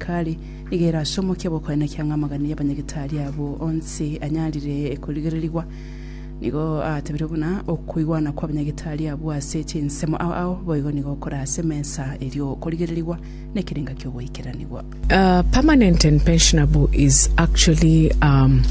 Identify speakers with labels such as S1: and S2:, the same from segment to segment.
S1: eserekari nigo ere ase omokia bw'okoenekia ng'a amagani y'abanyagitari abwo onsi anyarire korigererigwa. Nigo atebirie buna okoigwana kw'abanyagitari abwo ase chinsemo ao ao boigo nigo kore ase emesa erio korigererigwa nekerenga ki'ogoikeranigwa.
S2: Permanent and pensionable is actually um,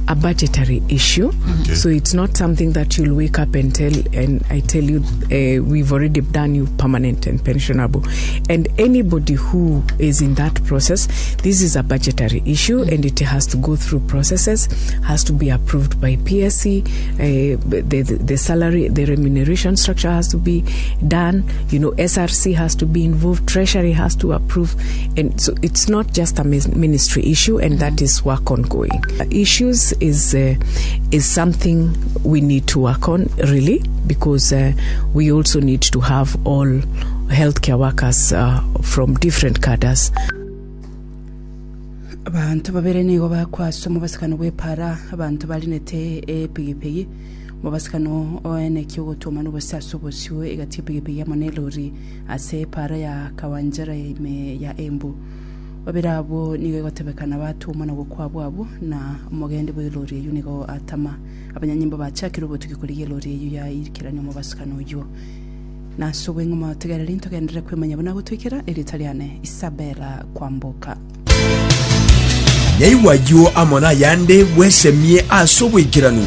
S2: a budgetary issue.
S3: Okay.
S2: So it's not something that you'll wake up and tell, and I tell you, uh, we've already done you permanent and pensionable. And anybody who is in that process, this is a budgetary issue and it has to go through processes, has to be approved by PSC, uh, the, the, the salary, the remuneration structure has to be done, you know, SRC has to be involved, Treasury has to approve. And so it's not just a ministry issue, and that is work ongoing. Issues is, uh, is something we need to work on, really, because uh, we also need to have all healthcare workers uh, from different cadres.
S1: Abanto babere nigo bakwaswa omobasikano bw'epaara, abanto barinete epigipigi. Omobasikano oenekia ogotwomana obosio ase obosio egati y'epigipigi amo nelori ase epaara ya Kawanjera ime ya Embu. Babere abwo nigo egotebekana batwomana gokwa abwo na omogendi bw'elori eyio nigo atama. Abanyanyimbo bachakire obotuki korigia elori eyio yaikerania omobasikano oyio. Nase obweng'u motegereri ntogenderere kwemanya buna gotoikera erieta riane Isabella Kwamboka.
S4: Naigwe ayio amo nayande bwesemie ase oboikeranu.